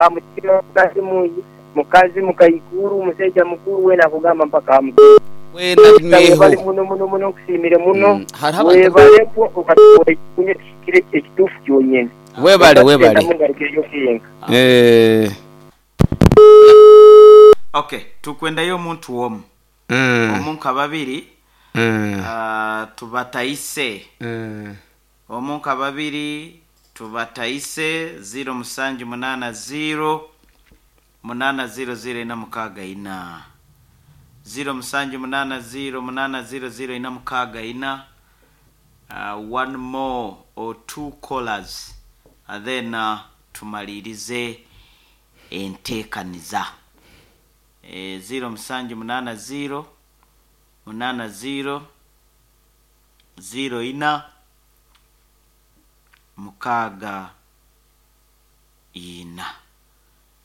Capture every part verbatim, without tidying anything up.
Mukazi mungi, mukazi mukaikuru, mushaija mukuru weena akugamba mpaka aha mukuru. Weena Webale binyweho. muno muno muno nkusiimire muno. Mm, hariho abantu Webale kwo okatuha ekikunya ekihikire ekituufu kyonyene. Webale webale. Mungarukireyo kenka. Eh. Okay, tukwendayo omuntu omu Mm. omu nka babiri Mm. ah, tubataise Mm. omu nka babiri tubataise ziro musanju munana ziro munana ziro ziro ina mukaaga ina ziro musanju munana ziro munana ziro ziro ina mukaaga ina uh, one more or two callers and then uh, tumalirize enteekaniza e, ziro musanju munana ziro munana ziro ziro ina mukaaga ina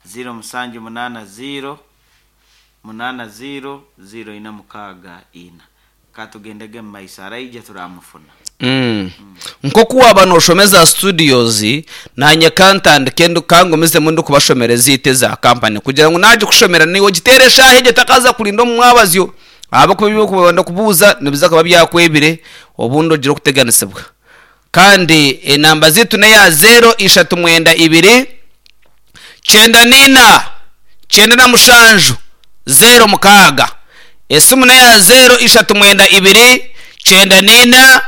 ziro musanju munana ziro munana ziro ziro ina mukaaga ina katugendege mu maiso araija turamufuna Mm. Nkoku waba noshomeza studios nanye kantandike ndu kangomezemu ndikubashomera eziite za kampani kugira ngu naje kushomera niwe ogitere eshaaha egyo takaza kurinda omu mwabazyo ahabwokuba ebyokwenda kubuuza nibiza kuba byakwebire obundi ogire okuteganisibwa kandi enamba ziitu neya zero ishatu mwenda ibiri kyenda nina kyenda na mushanju zero mukaaga esimu neya zero ishatu mwenda ibiri kyenda nina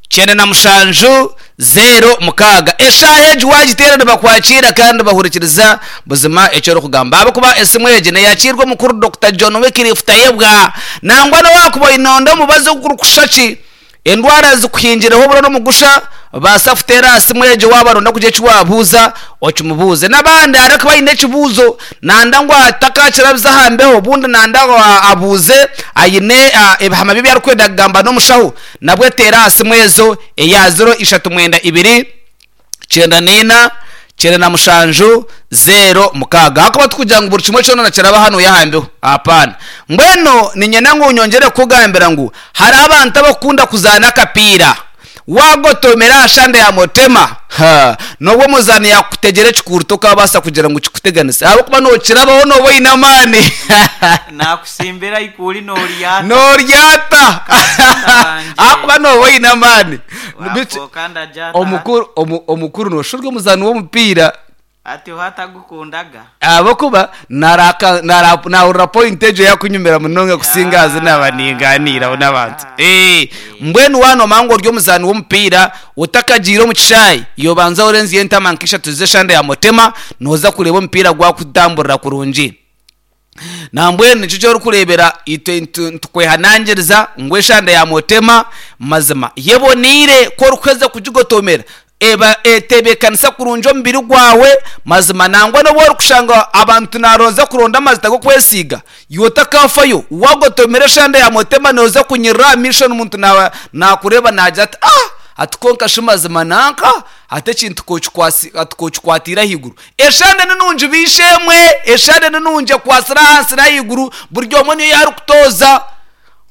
kyenda na mushanju zero mukaaga eshaaha egi wagiteera nibakwakira kandi bahurikiriza buzima ekyo orikugamba ahabwokuba esimu egi neyakiirwa omukuru Dr John Wycliffe Tayebwa nangwa nowakuba oinonda omubazi ogurikusha ki endwara zikuhingireho oburo n'omugusha baasa kuteera aha simu egyo waaba ronda kugira eki waabuuza okimubuuze n'abandi hariho kuba aine ekibuuzo nanda ngu atakakirabiza aha mbeho obundi nanda ngu abuuze aine ah, ebihama bye ebi arikwenda kugamba n'omushaho nabwe teera aha simu ezo eya ziro ishatu mwenda ibiri kyenda nina kyenda na mushanju zero mukaaga hakuba tukugira ngu buri kimwe kyona kiraba hano yahambeho apana mbwenu ninyenda ngu nyongere kukugambira ngu hari abantu abakunda kuzaana akapiira wagotomera aha shande ya motema ha nobwo omuzaani yakutegera ekikuruto okabaasa kugira ngu kikuteganise ahabwokuba nokirabaho noba oine amaani nakusimbira ikuli noryata noryata Kasita ahakuba noba oine amaani Bitu- wafoka ndajata omukuru omu- omukuru noshurwa omuzaani w'omupiira ati hatagukundaga ahabwokuba naraka- nara- nahurira point egyo yakunyumira munonga kusinga azi naba ninganiiraho n'abantu Eh, mbwenu wanomanya ngu ori omuzaani w'omupiira otakagiire omu kishaayi yobanza orenziyo entama nk'ishatu z'eshanda ya motema nooza kureeba omupiira gwakutamburira kurungi nambwenu nikyo kyorikureebera itwe ntu- ntukwehanangiriza ngu eshanda ya motema mazima yeboniire ku orikuheza kugigotomera eba etebeekanisa kurungi omubiri gwawe mazima nangwa n'obu orikushanga abantu naronza kuronda amazita g'okwesiiga iwe otakafayo wagotomera eshanda ya motema nooza kunyirira aha maisho n'omuntu na- nakureeba naagira ati ah ati konka shi mazima nanka ate ekintu kokikwasi- ati kokikwatira ahaiguru eshande ninungi biishemwe eshande ninungi ekwasire ahansi n'ahaiguru buri omwe niyo yarikutoza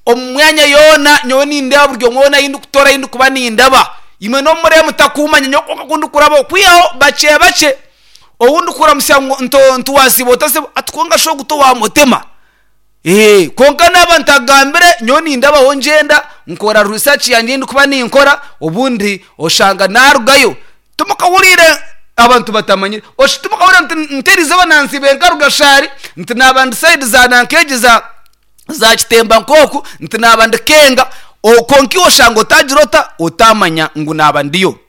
omu mwanya yoona nyowe nindeba buri omwe woona ahi ndikutoora ahi ndikuba nindaba imwe n'omuree mutakumanya nyowe konka ku ndikuraba okwihaho bakye bakye ou ndikuramusya ngu nto- ntiwasiiba otasiiba ati konka shi ogu towamutema Eh, konka naaba ntagambire nyowe nindabaho ngyenda nkora research yangye ndikuba ninkora obundi oshanga narugayo timukahuriire abantu batamanyire oshi timukahurira nti nterize banansibe nkaruga shaari nti naaba ndi side za nankegi za za kitemba nk'oku nti naaba ndi kenga O- konka iwe oshanga otagira ota otamanya ngu naaba ndiyo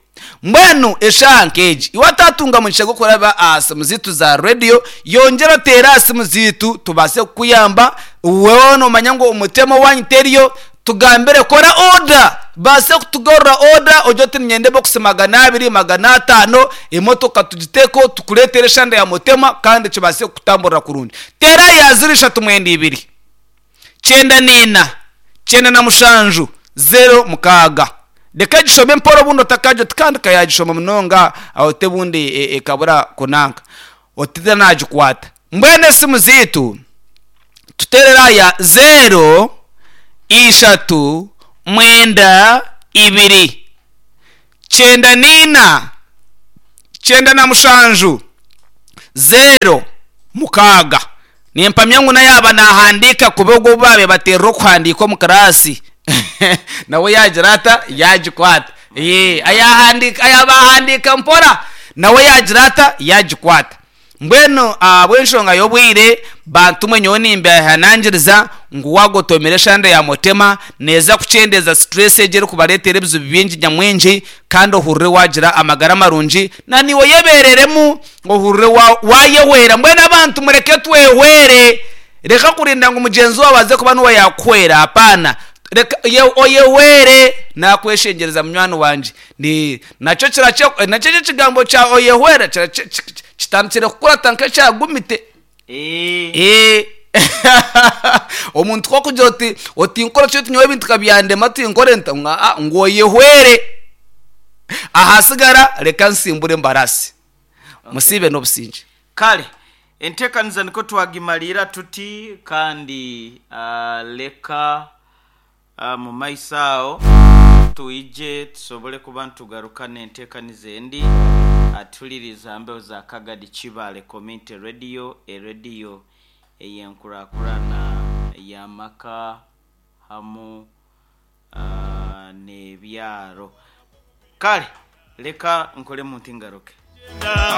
mbwenu eshaaha nk'egi iwe atatunga mugisha gw'okuraba aha simu ziitu za radiyo yongyera oteere aha simu ziitu tubaase kukuyamba wewe nomanya ngu omutema wanyu teriyo tugambire kora oda baase kutugarura oda ogye oti ninyenda ebokisi magana abiri magana ataano emotoka tugiteeko tukureetere eshanda ya mutema kandi kibaase kukutamburira kurungi teera ya ziro ishatu mwenda ibiri kyenda nina kyenda na mushanju zero mukaaga reka gishome mpora obundi otakagyo tikandi kayagishoma munonga aho te bundi e- ekabura kunanka otita nagikwata mbwenu esimu ziitu tuterera aya zero ishatu mwenda ibiri kyenda nina kyenda na mushanju zero mukaaga. Nimpamya ngu nayaba nahandiika kuba ogwo babe baterera okuhandiika omu kirasi nawe yagira ata yagikwata. Ye, ayahandika ayabahandiika mpora nawe yagira ata yagikwata. Mbwenu ahabw'enshonga y'obwire, bantu mwe, nyowe nimbehanangiriza ngu wagotomera eshande ya mutema neeza kukyendeza stress egi erikubareetera ebizibu bingi nyamwingi, kandi ohurire wagira amagara marungi na niwe yebereremu ohurire wa- wayehwera. Mbwenu abantu mureke twehwere, reka kurinda ngu mugenzi wawe aze kuba niwe yakuhwera. Hapana, reka ye- oyehwere. Nakweshengereza munywani wanje, ni nakyo kirache nakyo ekyo ekigambo kya oyehwera kirache- ki- ki- kitandikire kukurata nk'ekyagumite. Eh, Eh. Omuntu kokugira oti otinkora kyo tinyowe ebintu kabyandema tinkore nta nga ah, ngu oyehwere, ahasigara reka nsimbure embarasi musibe n'obusinge. Kale enteekaniza niko twagimalira tuti, kandi ah, leka ah, mu maiso aho twije tusobole kuba ntugaruka n'enteekaniza endi. Atuliriza mbeho za Kagadi Kibale Community Radio, erediyo ey'enkurakurana y'amaka hamu ah, n'ebyaro. Kale leka nkole muntu ngaruke.